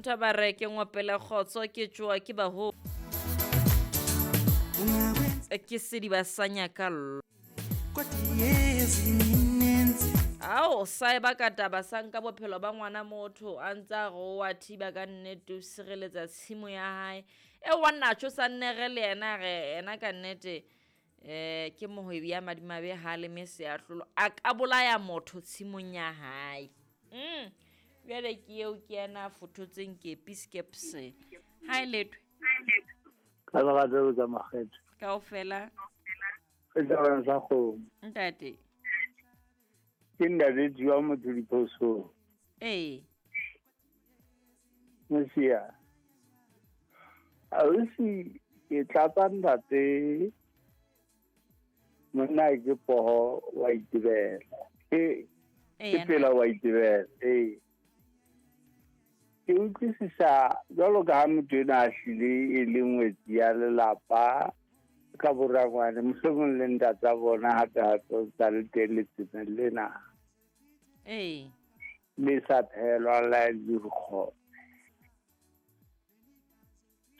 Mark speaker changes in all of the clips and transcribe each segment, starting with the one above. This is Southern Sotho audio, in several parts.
Speaker 1: Ntho ba re ke ngopele kgotso ke tšoa ke baho ke sediba sa nyakallo. Ao sa eba ka taba sa nka bophelo ba ngwana motho a ntse a re o a thiba ka nnete o sireletsa tshimo ya hae. E wa natjho sa nnere le yena re ena ka nnete ke mohwebi ya madimabe ha leme seahlolo a ka bolaya motho tshimong ya hae. Jwale ke eo ke yena a fothotseng kepi skepse. Ha e letwe.
Speaker 2: Ka lerato tsa makgetho.
Speaker 1: Kaofela.
Speaker 2: Ke taba sa kgomo.
Speaker 1: Ntate.
Speaker 2: Ke ntate Jua motho diphoso.
Speaker 1: Ee.
Speaker 2: Mosia. Ausi ke tlatsa ntate monna ke poho wa itebela. Ke pela wa itebela. Ee. Ke utlwisisa jwalo ka ha motho ena a hlile e le ngwetsi ya lelapa ka borangwane mohlomong le ntatsa bona hape hape o tsa le teng letsemeng lena.
Speaker 1: Ee.
Speaker 2: Le sa phelwa la dirikgone.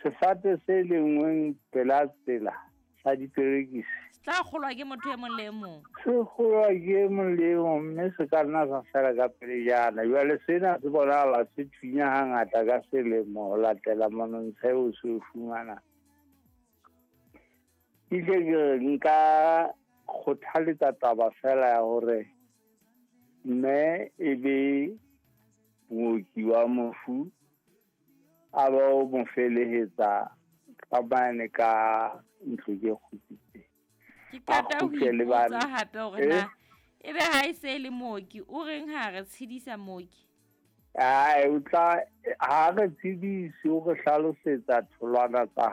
Speaker 2: Sefate se lengweng pela tsela sa diperekisi.
Speaker 1: Se tla kgolwa ke motho e mong le e mong.
Speaker 2: Se kgolwa ke e mong le e mong mme se ka nna sa fela ka pelejana. Jwale sena se bonahala se thunya hangata ka selemo ho latela monontsha eo se o fumanang. Ke tle ke re nka kgothaletsa taba fela ya hore mme e be mooki wa mofu a ba o mo felehetsa ka mane ka ntlo ke kgutsitseng.
Speaker 1: Ke qeta ho ipotsa hape hore na ebe ha e se le mooki o reng ha re tshedisa mooki?
Speaker 2: Ai o tla ha re tshedise o re hlalosetsa tholwana tsa